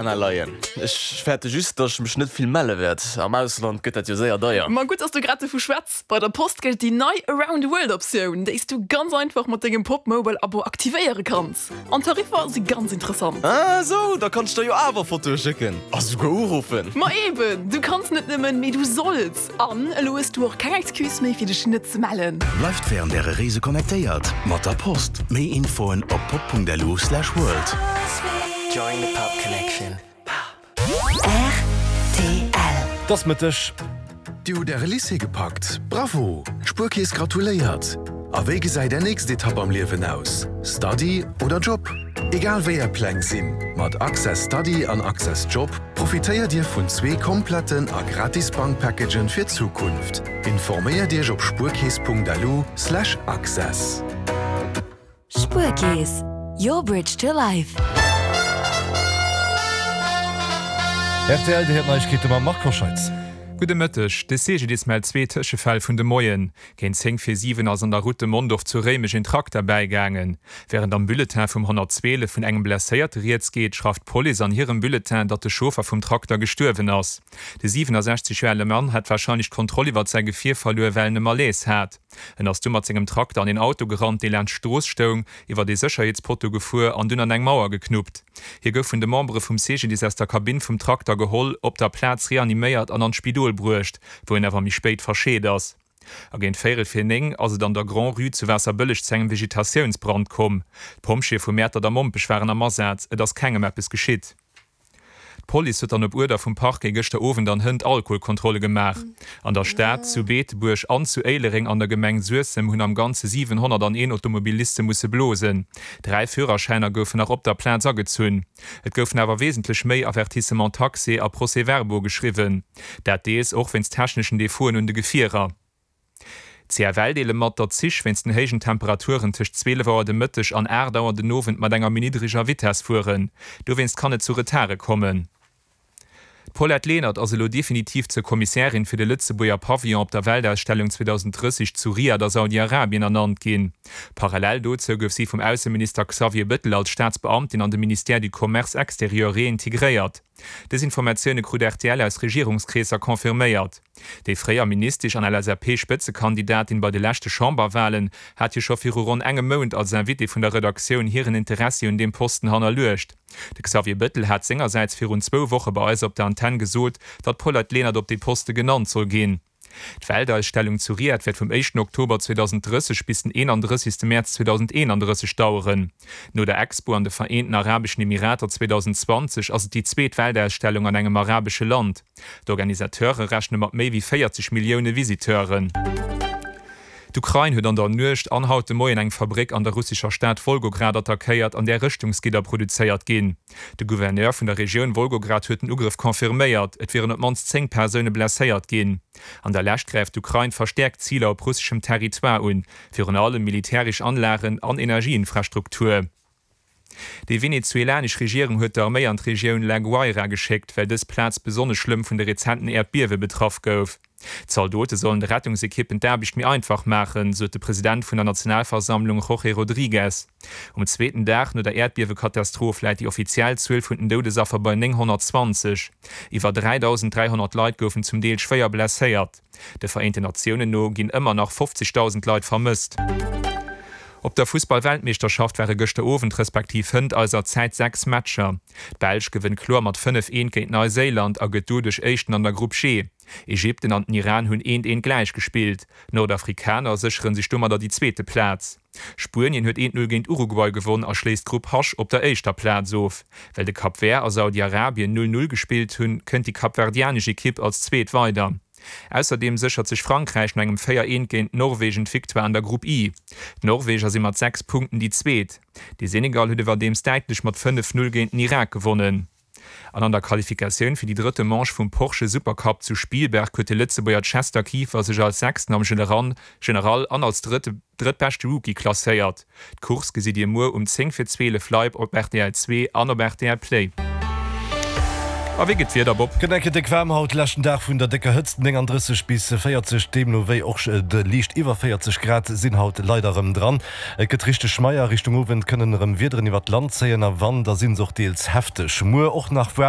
Leien. Ech fäerte just, datt ech mech net vill melle wäert. Am Ausland gëtt dat jo séier deier. Ma gutt, dass du grad dovu schwätz. Bei der Post gëllt déi nei Around the World Optioun, déi s du ganz einfach mat dengem Popmobile-Abo aktivéiere kanns. An d'Tariffer si ganz interessant. Ah sou, da kann ech der jo awer Fotoe schécken a souguer uruffen. Ma eben, du kanns net nëmmen, mee du solls! An elo hues du och keng Excuse méi fir dech net ze mellen. Bleift wärend äre Reese connectéiert mat der Post. Méi Infoen op pop.lu/world. Join the pop connection. Rtl. Et ass Mëtteg. Dir hutt Äre Lycée gepackt? Bravo! D'Spuerkeess gratuléiert! A wéi gesäit Är nächst Etapp am Liewen aus? Study oder Job? Egal wéi Är Pläng sinn, mat Access Study an Access Job profitéiert Dir vun zwee kompletten a gratis Bankpackagen fir d'Zukunft. Informéiert Iech op spuerkeess.lu/access. Spuerkeess, your bridge to life. Rtl, Dir héiert d'Neiegkeete mam Marc Hoscheitz. Gudde Mëtteg. De CGDIS mellt zwee Tëschefäll vun de Moien. Géint 10 vir 7 ass an der Route de Mondorf zu Réimech een Trakter bäigaangen. Wärend am Bulletin vum 112 vun engem Blesséierte rieds geet, schreift d'Police an hirem Bulletin, datt de Chauffer vum Trakter gestuerwen ass. De 67 Joer ale Mann hätt warscheinlech d'Kontroll iwwert säi Gefier verluer, well en e Malaise hat. En ass du mat sengem Trakter an een Auto gerannt, dee laanscht d'Strooss stoung, iwwert ee Sécherheetspotto gefuer an dunn an eng Mauer geknuppt. Hie gouf vun de Membere vum CGDIS aus der Kabinn vum Trakter geholl, op der Plaz reaniméiert an an d'Spidol bruecht, wou en awer méi spéit verscheet ass. A géint véierel vir 9 ass et an der Grand-Rue zu Waasserbëlleg zu engem Vegetatiounsbrand komm. D'Pompjeeë vu Mäertert a Mompech waren am Asaz, et ass kengem eppes geschitt. D'Police huet dann op Uerder vum Parquet gëschter Owend an hënt Alkoholkontrolle gemaach. An der Stad, zu Beetebuerg an zu Éilereng an der Gemeng Suessem hunn am Ganze 701 Automobiliste musse blosen. 3 Führerschäiner goufen nach op der Plaz agezunn. Et goufen awer wesentlech méi Avertissements taxés a Procès-verbaux geschriwwen. Dat deels och wéinst techneschen Defauten un de Gefierer. D'CFL deele mat, datt d'Zich wéinst den héijen Temperaturen tëscht 12 Auer de Mëtteg an 8 Auer den Owend mat enger méi niddreger Vitess fueren. Dowéinst kann et zu Retarde kommen. D'Paulette Lenert ass elo definitiv zur Kommissärin fir de Lëtzebuerger Pavillon op der Weltausstellung 2030 zu Riad a Saudi-Arabien ernannt ginn. Parallel dozou gouf si vum Ausseminister Xavier Bettel als Staatsbeamtin an de Ministère du Commerce extérieur reintegréiert. Dës Informatioune krut rtl aus Regierungskreesser confirméiert. Déi fréier Ministesch an LSAP-Spëtzekandidatin bei de leschte Chamberwalen hat jo scho viru ronn engem Mount als Invitée vun der Redaktioun hiren Interessi un deem Posten hannerluecht. De Xavier Bettel hat sengersäits virun zwou Woche bei eis op der Antenn gesot, datt d'Paulette Lenert op dee Poste genannt soll ginn. D'Weltausstellung zu Riad wäert vum éischten Oktober 2030 bis den 31. Mäerz 2031 daueren. No der Expo an de Vereenten Arabeschen Emirater 2020 ass et déi zweet Weltausstellung an engem arabesche Land. D'Organisateure rechne mat méi wéi 40 Millioune Visiteuren. D'Ukrain huet an der Nuecht an haut de Moien eng Fabréck an der russescher Stad Wolgograd attackéiert, an där Rëschtungsgidder produzéiert ginn. De Gouverneur vun der Regioun Wolgograd huet den Ugrëff confirméiert. Et wieren op d'mannst 10 Persoune blesséiert ginn. An der Lescht gräift d'Ukrain verstäerkt Ziler op russeschem Territoire un, virun allem militäresch Anlagen an Energieinfrastruktur. Déi venezuelanesch Regierung huet d'Arméi an d'Regioun La Guaira geschéckt, well dës Plaz besonnesch schlëmm vun de rezenten Äerdbiewe betraff gouf. D'Zaldote sollen de Rettungsekippen d'Aarbecht méi einfach maachen, sot de President vun der Nationalversammlung Jorge Rodriguez. Um zweeten Dag no der Äerdbiewekatastroph läit déi offiziell Zuel vun den Doudesaffer bei 920. Iwwer 3.300 Leit goufen zum Deel schwéier blesséiert. De Vereenten Natiounen no ginn ëmmer nach 50.000 Leit vermësst. Op der Fussball-Weltmeeschterschaft ware gëschter Owend respektiv hënt eiser Zäit 6 Matcher. D'Belsch gewënnt kloer mat 5, Eent géint Neiséiland a gëtt doduerch Éischten an der Grupp G. Ägypten an den Iran hunn eent, eent gläich gespillt. D'Nordafrikaner séchere sech domadder déi zweete Plaz. Spuenien huet eent, Null géint Uruguay gewonn a schléisst d'Grupp H op der éischter Plaz of. Well de Cap Vert a Saudi-Arabien 0, 0 gespillt hunn, kënnt déi kapverdianesch Ekipp als Zweet weider. Ausserdeem séchert sech Frankräich no engem 4, 1 géint Norwegen d'Victoire an der Grupp I. D'Norweger si mat 6 Punkten déi Zweet. De Senegal huet iwwerdeems däitlech mat 5, 0 géint den Irak gewonnen. An an der Qualifikatioun fir déi drëtte Manche vum Porsche Supercup zu Spielberg huet de Lëtzebuerger Chester Kieffer sech als Sechsten am General an als drëttbeschte Rookie klasséiert. D'Course gesitt Dir muer um 10 vir 12 live op rtl 2 an op rtl Play. A wéi gëtt d'Wieder, Bob? Gëtt eng Kéier déck waarm haut, leschten Dag vun der décker Hëtzt, 39 bis 40, deemno wéi och de liicht iwwer 40 Grad sinn haut leider erëm dran. Et gëtt richteg schmeier, Richtung Owend kënnen erëm Wiederen iwwert d'Land zéien a wann, da sinn se och deels hefteg. Muer och nach waarm.